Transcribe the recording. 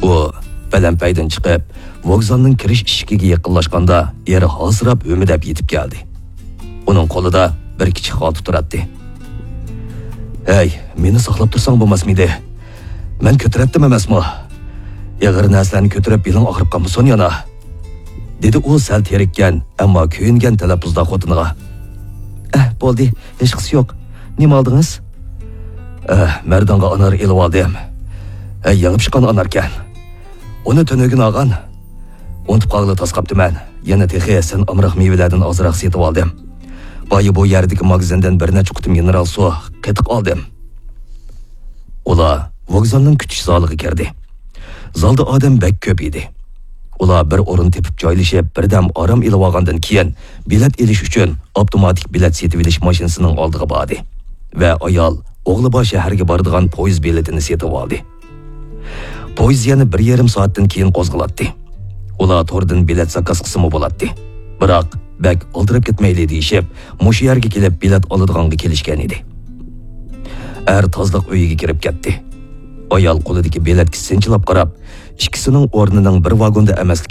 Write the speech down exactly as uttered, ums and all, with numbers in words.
ئۇ پەلەمپەيدىن چىقىپ، ۋوگزالنىڭ كىرىش ئىشىكىگە يېقىنلاشقاندا، ئېرى ھاسىراپ ھۆمۈدەپ يېتىپ كەلدى. ئۇنىڭ قولىدا بىر كىچىك خالتا تۇراتتى. «ھەي، مېنى ساقلاپ تۇرساڭ بولماسمىدى؟ مەن كۆتۈرەتتىم ئەمەسمۇ؟ ئېغىر نەرسىلەرنى كۆتۈرۈپ بېلىڭ ئاغرىپ قالمىسۇن يەنە»، دېدى ئۇ سەل تېرىككەن، ئەمما كۆيۈنگەن تەلەپپۇزدا خوتۇنىغا. «ئەھ، بولدى، ھېچقىسى يوق. نېمە ئالدىڭىز؟» «ئەھ، مەردانغا ئانار ئېلىۋالدىم. ھەي، يېڭى پىشقان ئاناركەن. ئۇنى تۈنۈگۈن ئالغان. ئۇنتۇپ قالغىلى تاس قاپتىمەن. يەنە تېخى سەن ئامراق مېۋىلەردىن ئازراق سېتىۋالدىم. بايا بۇ يەردىكى ماگىزىندىن بىر نەچچە قۇتۇم مىنېرال سۇ قېتىق ئالدىم.» ئۇلار ۋوگزالنىڭ كۈتۈش زالىغا كىردى. زالدا ئادەم بەك كۆپ ئىدى. ئۇلار بىر ئورۇن تېپىپ جايلىشىپ، بىردەم ئارام ئېلىۋالغاندىن كېيىن، بېلەت ئېلىش ئۈچۈن ئاپتوماتىك بېلەت سېتىۋېلىش ماشىنىسىنىڭ ئالدىغا باردى ۋە ئايال ئوغلىبار شەھەرگە بارىدىغان پويىز بېلىتىنى سېتىۋالدى. پويىز يەنە بىر يېرىم سائەتتىن كېيىن قوزغىلاتتى. ئۇلار توردىن بېلەت زاكاز قىلسىمۇ بولاتتى. بىراق، بەك ئالدىراپ كەتمەيلى دېيىشىپ، مۇشۇ يەرگە كېلىپ بېلەت ئالىدىغانغا كېلىشكەن ئىدى. ئەر تازىلىق ئۆيىگە كىرىپ كەتتى. ئايال قولىدىكى بېلەتكە سىنچىلاپ قاراپ، ئىككىسىنىڭ ئورنىنىڭ بىر ۋاگوندا ئەمەسلىكىنى